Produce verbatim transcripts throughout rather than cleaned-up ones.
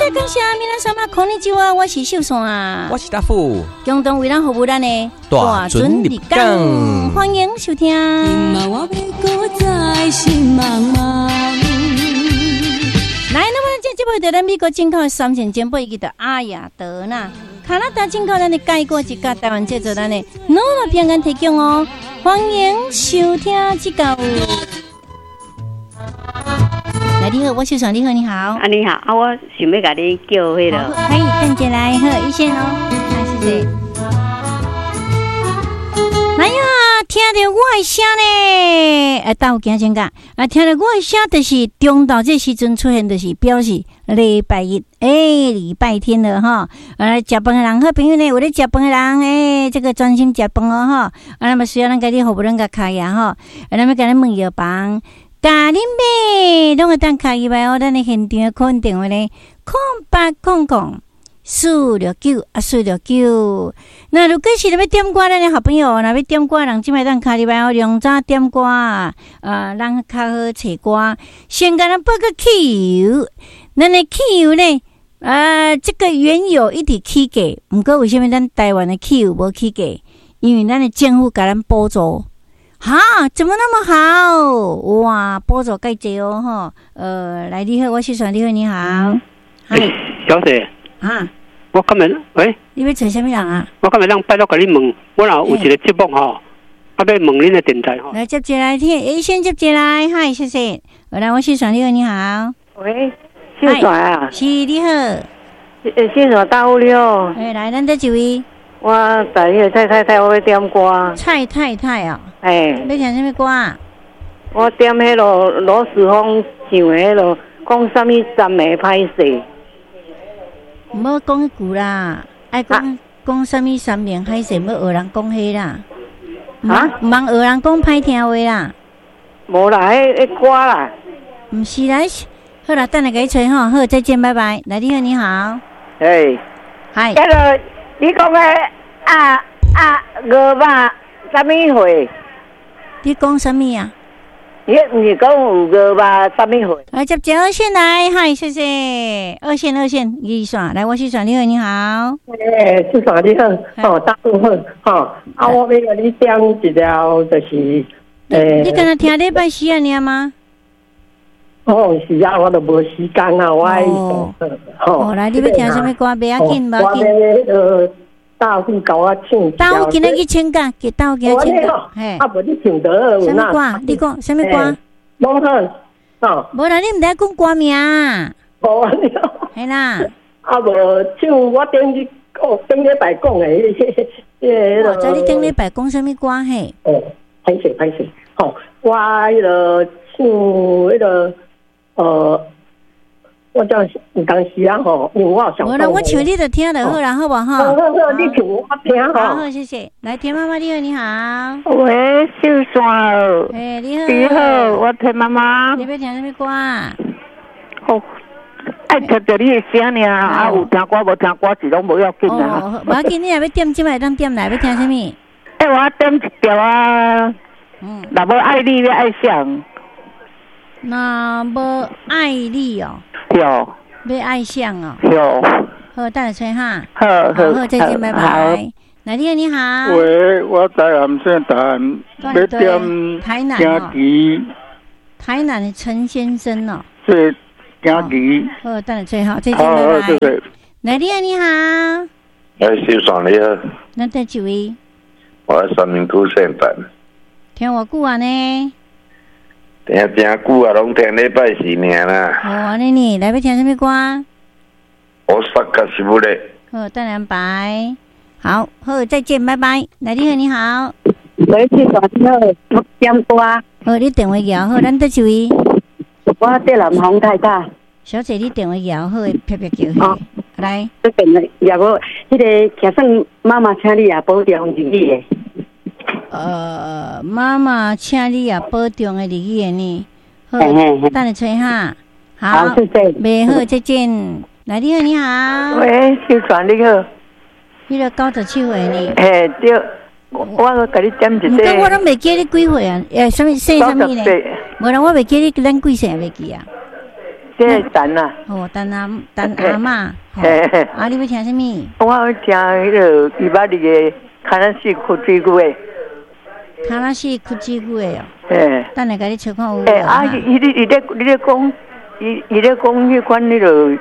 謝感謝，皆様こんにちは，我是秀山啊。我是大富，共同為咱服務咱的大准入港。歡迎收聽。我欲閣再心茫茫。來，那麼這這擺就咱美國進口的三線珍寶，伊叫做阿雅德啦。加拿大進口咱的蓋過一家台灣製造咱的諾樂平安提供哦，歡迎收聽這個。來，你好，我秀山，你好，你好。啊，你好，啊，我想欲共你叫彼個。可以，等一來，好，一線哦，啊，謝謝。來呀，聽著我的聲呢，哎，倒有驚真㗎？啊，聽著我的聲，就是中晝這時陣出現，就是表示禮拜一，欸，禮拜天了哈。啊，食飯的人好朋友呢，有咧食飯的人，欸，這個專心食飯哦吼。啊，那麼需要咱共你服務，咱共開啊吼。啊，咱欲共你問藥房，共恁買，攏會當敲入來哦。咱的現場的款電話呢，空八空空四六九啊，四六九。那如果是欲點歌，咱的好朋友，若欲點歌，人這擺當敲入來哦。量早點歌啊，咱較好揣歌。先共咱報個汽油，咱的汽油呢？啊，這個原油一直起價，毋過為啥物咱台灣的汽油無起價？因為咱的政府共咱補助。哈，怎麼那麼好？哇，補助蓋濟哦，吼。呃，來，你好，我是選你好，你好。欸，小姐。啊。我今日，喂。你欲揣啥物人啊？我今日咱拜託共你問，我若有一個節目吼，啊，欲問恁的電台吼。來接進來，聽，欸，先接進來，嗨，謝謝。來，我是選你好，你好。喂，秀山啊。是，你好。欸，秀山大富你好。欸，來，咱這一位。我在彼个蔡太太，我欲點歌。蔡太太哦。欸。欲聽啥物歌？我點彼个羅時豐唱的彼个，講啥物三暝歹勢。毋好講彼句啦，愛講講啥物山盟海誓，欲學人講彼啦。啊？毋通學人講歹聽話啦。無啦，彼彼歌啦。毋是啦，好啦，等下共你揣吼，好，再見，拜拜。來，你好，你好。欸。嗨。彼个你講的啊啊牛肉啥物貨？你講啥物啊？你毋是講有牛肉啥物貨？來接一二線來，嗨，謝謝。二線二線，二線來，我是選你好，你好。欸，秀山你好，吼，大富好，吼，啊，我欲共你點一條，就是，欸，你敢若聽禮拜四爾嗎？哦，是啊，我都無時間啊，我愛哦，吼。來，你欲聽啥物歌？袂要緊，無要緊。我欲彼个大富共我唱。大富今日去請假，給大富今日請假。嘿。啊，無你唱得啥物歌？你講啥物歌？無好，哦。無啦，你毋知講歌名。無啊，你。嘿啦。啊，無唱我頂日哦，頂禮拜講的，彼个。我知你頂禮拜講啥物歌嘿？哦，歹勢歹勢，吼，我彼个唱彼个，呃。我這有當時啊吼，因為我有想。無啦，我唱你就聽就好啦，好無吼？好好好，你唱我聽吼。好，好，謝謝。來，田媽媽，你好，你好。喂，秀山。欸，你好。你好，我田媽媽。你欲聽啥物歌？好，愛聽著你的聲爾，啊，有聽歌無聽歌是攏無要緊啊。無要緊，你若欲點，這擺會當點來，欲聽啥物？欸，我點一條啊。嗯。若無愛你，欲愛誰？若無愛你哦。對。欲愛誰哦？對。好，等下揣哈。好好，好，再見，拜拜。來，你好，你好。喂，我台南姓陳，欲點台南驚奇。台南的陳先生哦。是驚奇。好，等下揣好，再見，拜拜。謝謝。來，你好，你好。哎，秀山你好。咱佗一位？我三民區姓陳。聽偌久啊呢？聽誠久啊，攏聽禮拜四爾啦。哦，按呢呢，來欲聽啥物歌？我煞較是不咧。好，等安排。好，好，再見，拜拜。來，你好，你好。喂，秀山你好，我點歌。好，你電話搖好，咱佗一位？我這南洪太太。小姐，你電話搖好，啪啪叫。哦，來。這電話也無，彼个就算媽媽請你也保重日語的。呃，媽媽請你也保重的日語的呢。好，等下揣哈。好，謝謝。袂好，再見。來，你好，你好。喂，秀山你好。彼个九十七歲呢？嘿，對，我我共你點一個。毋過我攏袂記你幾歲啊？欸，啥物姓啥物呢？無啦，我袂記你咱幾歲，袂記啊。這個陳啊。哦，陳阿陳阿嬤。啊，你欲聽啥物？我欲聽彼个伊巴里的卡拉西哭水久的。卡拉西哭水久的哦。嘿。等下共你揣看有無。欸，啊，伊咧伊咧伊咧講，伊伊咧講彼款彼个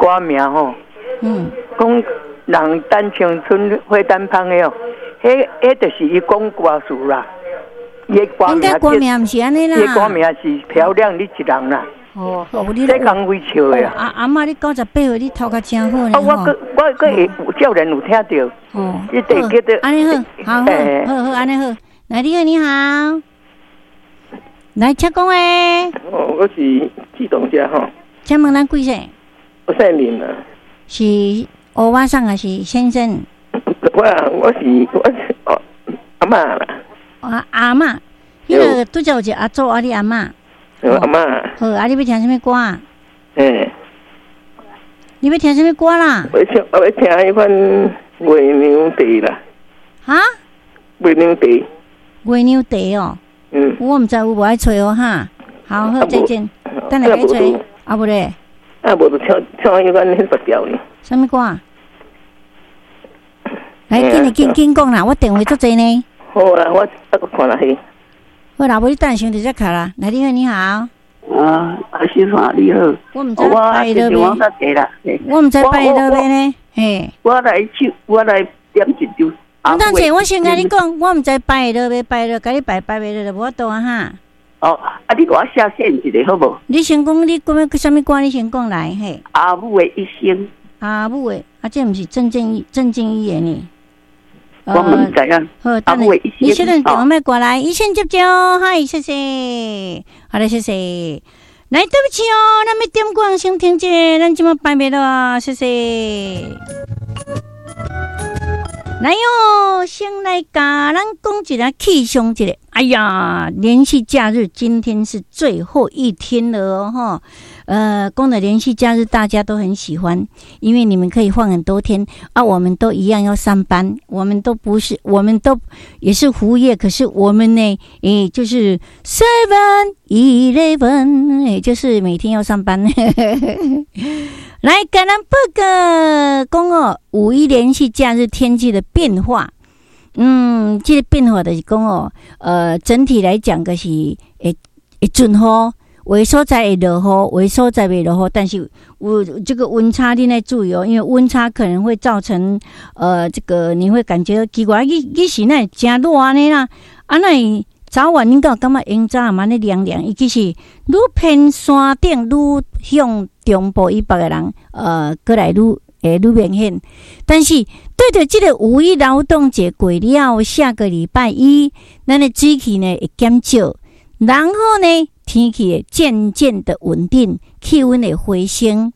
歌名吼。嗯。講人等青春花等芳的哦，彼彼就是伊講歌詞啦。伊的歌名。應該歌名毋是按呢啦。伊歌名是漂亮你一人啦。哦，這講會笑的啊！阿阿嬤，你九十八歲，你頭殼真好呢。啊，我閣我閣會少年有聽著。哦。你得記得。按呢好，好好好，按呢好。來，你好，你好。來，請講話。哦，我是志動者吼。請問咱貴姓？我姓林啊。是歐巴桑還是先生？我我是我是哦阿嬤啦。啊阿嬤，彼个拄才有一個阿祖啊，你阿嬤。阿嬤。好，啊，你欲聽啥物歌？欸。你欲聽啥物歌啦？我欲聽，我欲聽彼款月娘茶啦。哈？月娘茶。月娘茶哦。嗯。我毋知有無愛揣哦哈。好好，再見。等下共你揣。啊無咧。啊無就唱唱彼款彼個調呢。啥物歌？來，緊緊緊講啦，我電話足濟呢。好啦，我啊閣看下去。好啦，無你等下先佇遮卡啦。來，你好，你好。啊，阿師傅你好。我毋知拜落未？我毋知拜落未呢？嘿。我來唱，我來點一張。毋等者，我先共你講，我毋知拜落未拜落，共你拜拜袂落就無法度啊哈。哦，啊，你共我寫線一下好無？你先講，你講欲啥物歌？你先講來嘿。阿母的一生。阿母的，啊，這毋是鄭正義鄭正義的呢？我毋知影。好，等下你小等電話欲掛來，一線接招，嗨，謝謝，好嘞，謝謝。來，對不起哦，咱欲點歌先停者，咱這馬拜袂落啊，謝謝。來喲，先來共咱講一下氣象一下。哎呀，連續假日今天是最後一天了哦，哈。呃，講的連續假日大家都很喜歡，因為你們可以放很多天啊。我們都一樣要上班，我們都不是，我們都也是服務業，可是我們呢，誒，就是 seven eleven，也就是每天要上班。來，共咱報告講哦，五一連續假日天氣的變化。嗯，這個變化就是講哦，呃，整體來講，就是會會陣雨，有的所在會落雨，有的所在袂落雨，但是有這個溫差你愛注意哦，因為溫差可能會造成呃，這個你會感覺奇怪，彼彼時哪會誠熱按呢啦？啊，哪會早晚你敢有感覺湧早嘛按呢涼涼？伊其實愈偏山頂愈向中部以北的人，呃，閣來愈會愈明顯。但是對著這個五一勞動節過了，下個禮拜一，咱的水汽呢會減少，然後呢，天氣會漸漸的穩定，氣溫會回升。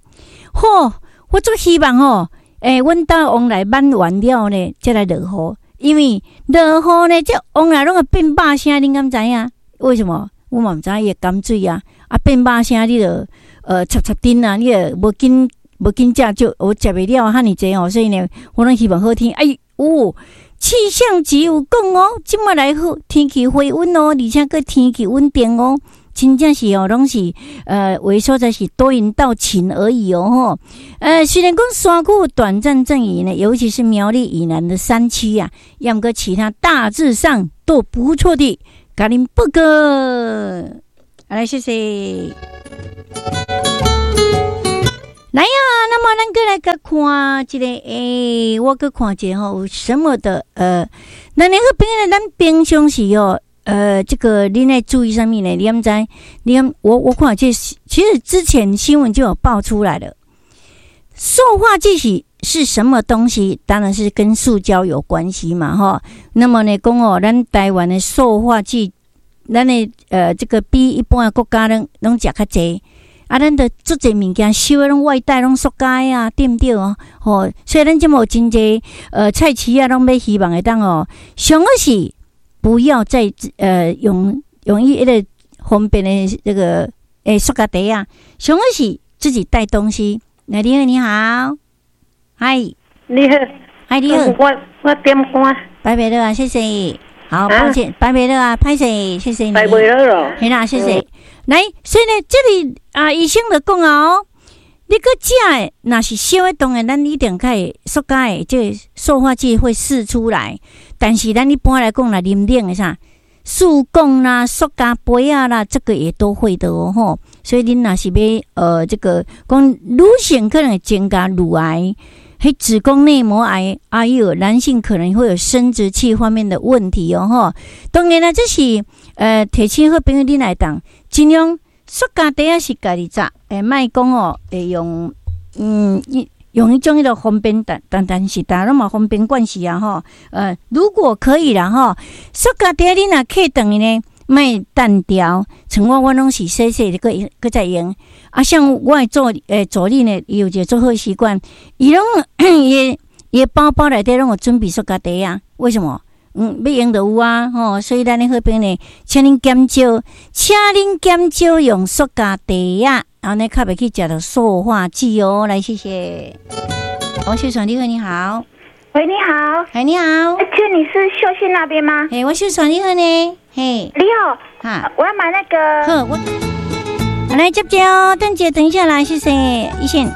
吼，我足希望吼，欸，阮兜往來挽完了呢，才來落雨，因為落雨呢，這往來攏會變肉聲，恁敢知影？為什麼？我嘛毋知伊會鹹水啊，啊變肉聲，你就呃插插釘啊，你就無緊無緊食就我食袂了遐爾濟哦，所以呢，我攏希望好天。哎，哦，氣象局有講哦，這馬來好天氣回溫哦，而且閣天氣穩定哦。真正是哦，攏是呃，有的所在是多雲到晴而已哦，吼。呃，雖然講山區短暫陣雨呢，尤其是苗栗以南的山區啊，猶毋過其他大致上都不錯的。共恁報告，來，謝謝。來呀，那麼咱閣來閣看一個，欸，我閣看一下吼，有什麼的？呃，咱那個朋友，咱平常時哦。呃，這個你愛注意啥物呢？你敢知？你敢我我看這其實之前新聞就有爆出來了。塑化劑是是什麼東西？當然是跟塑膠有關係嘛，哈。那麼呢，講哦，咱台灣的塑化劑，咱的呃，這個比一般的國家攏攏食較濟。啊，咱著足濟物件收的攏外帶攏塑膠啊，對毋對哦？吼，所以咱這麼有真濟呃菜市啊，攏欲希望會當哦，上好是。不要再呃用用伊彼个方便的這個欸塑膠袋啊，上好是自己帶東西。來，你好，你好，嗨，你好，嗨，你好，我我點歌，拜拜了啊，謝謝。好，抱歉，拜拜了啊，歹勢，謝謝你。拜拜了咯。嘿啦，謝謝。來，所以呢，這裡啊，醫生就講啊哦，你閣食的，若是燒的，當然咱一定較會塑膠的這個塑化劑會釋出來。但是咱一般來講，若啉冷的啥，塑鋼啦、塑膠杯仔啦，這個也都會的哦吼。所以恁若是欲呃，這個講女性可能會增加乳癌、彼子宮內膜癌，還有男性可能會有生殖器方面的問題哦吼。當然啦，這是呃提醒好朋友恁來當盡量塑膠袋仔是家己紮，欸，莫講哦，會用嗯用彼種彼个方便，但但但是逐家攏嘛方便慣勢啊吼。呃，如果可以啦吼，塑膠袋你若客轉去呢，莫單調，像我我攏是洗洗閣閣再用。啊，像我的助欸助理呢，伊有一個足好習慣，伊攏伊伊包包內底攏有準備塑膠袋啊。為什麼？嗯，欲用就有啊，吼，所以咱的好朋友呢，請恁減少，請恁減少用塑膠袋仔，按呢較袂去食著塑化劑哦。來，謝謝。王秀爽，你好，你好。喂，你好。哎，你好。請問你是秀信那邊嗎？嘿，我秀爽，你好呢。嘿，你好。哈，我要買那個。好，我來接接哦，等一下，等一下來，謝謝，一線。